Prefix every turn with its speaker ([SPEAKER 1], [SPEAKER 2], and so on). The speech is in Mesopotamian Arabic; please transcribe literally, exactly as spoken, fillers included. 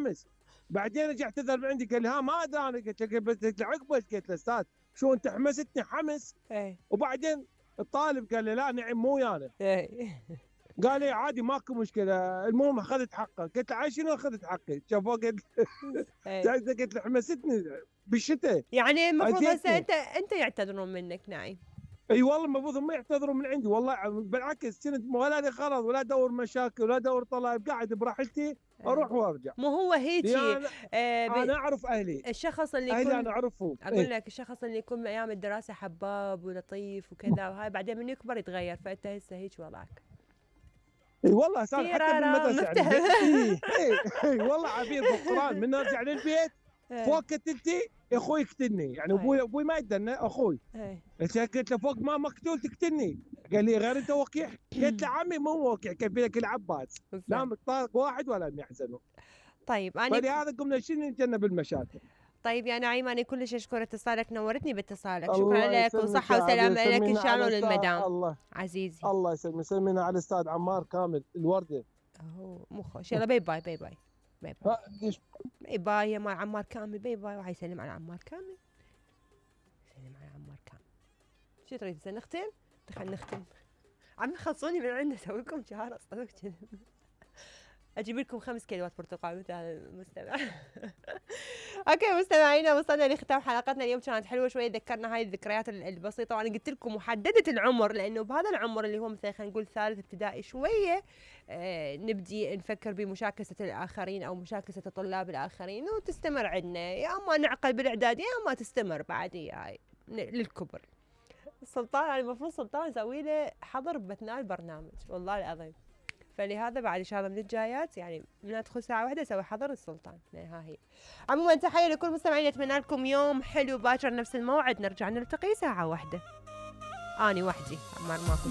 [SPEAKER 1] حمس. بعدين رجع اعتذر من عندي قال لي ها ما ادري انا، قلت له بس عقبه قلت له استاذ شو انت حمستني حمس.
[SPEAKER 2] اي
[SPEAKER 1] وبعدين الطالب قال لي لا نعم مو ويانا.
[SPEAKER 2] اي
[SPEAKER 1] قال لي عادي ماكو مشكله، المهم اخذت حقه. قلت له عاي شنو اخذت حقي؟ شافوه قلت
[SPEAKER 2] اي
[SPEAKER 1] قلت له حمستني بالشتاء.
[SPEAKER 2] يعني المفروض هسه
[SPEAKER 1] أذيتني.
[SPEAKER 2] انت انت يعتذرون منك نعيم.
[SPEAKER 1] اي والله المفروض هم يعتذروا من عندي والله، بالعكس كنت ولا لي غرض ولا ادور مشاكل ولا ادور طلب، قاعد براحتي اروح وارجع.
[SPEAKER 2] مو هو هيجي
[SPEAKER 1] أنا,
[SPEAKER 2] آه
[SPEAKER 1] انا اعرف اهلي،
[SPEAKER 2] الشخص اللي
[SPEAKER 1] اهلي
[SPEAKER 2] يكون
[SPEAKER 1] انا اعرفهم.
[SPEAKER 2] اقول
[SPEAKER 1] إيه؟
[SPEAKER 2] لك الشخص اللي يكون من ايام الدراسه حباب ولطيف وكذا وهاي بعدين من يكبر يتغير، فانت هسه هيك وضعك.
[SPEAKER 1] اي والله صار حتى بالمدرسه يعني. اي اي اي والله عبير بالقران من ارجع للبيت فوق كتلتي اخوي يقتلني، يعني ابوي ابوي ما يدنا اخوي. قلت له فوق ما مقتول تقتلني، قال لي غير انت وقيح. قلت له عمي مو وقيح كيف لك العباس، لا مطارق واحد ولا يحزنوا.
[SPEAKER 2] طيب انا
[SPEAKER 1] فلهذا قمنا شنو نتجنب المشاكل.
[SPEAKER 2] طيب يا نعيم انا كلش اشكر اتصالك، نورتني باتصالك، شكرا لك وصحه وسلامه لك ان شاء الله وللمدام.
[SPEAKER 1] الله
[SPEAKER 2] عزيزي
[SPEAKER 1] الله يسلمك، سلمينا على الاستاذ عمار كامل الورده.
[SPEAKER 2] اوه مو خوش، يلا باي باي باي باي باي باي باي باي يا مال عمار كامل، باي باي. وحي يسلم على عمار كامل، يسلم على عمار كامل. شو تريد هسه نختم؟ خلينا نختم. عم يخلصوني من عندنا اسوي لكم شهر اصلا اجيب لكم خمس كيلوات برتقال مثل هذا المستمع. اوكي مستمعينا وصلنا لختام حلقتنا اليوم، كانت حلوه شويه، ذكرنا هاي الذكريات البسيطه، وانا قلت لكم محدده العمر لانه بهذا العمر اللي هو مثلا خلينا نقول ثالث ابتدائي شويه آه نبدي نفكر بمشاكسه الاخرين او مشاكسه الطلاب الاخرين، وتستمر عندنا يا اما نعقل بالاعداديه يا اما تستمر بعد هاي للكبر. السلطان يعني المفروض سلطان اسوي له حظر باثناء البرنامج والله العظيم، فلهذا بعد ان شاء الله من الجايات يعني من ادخل ساعه واحده اسوي حظر السلطان. ها هي. عموما تحيه لكل مستمعين، اتمنى لكم يوم حلو، باكر نفس الموعد نرجع نلتقي ساعه واحده. اني وحدي عمار ماكو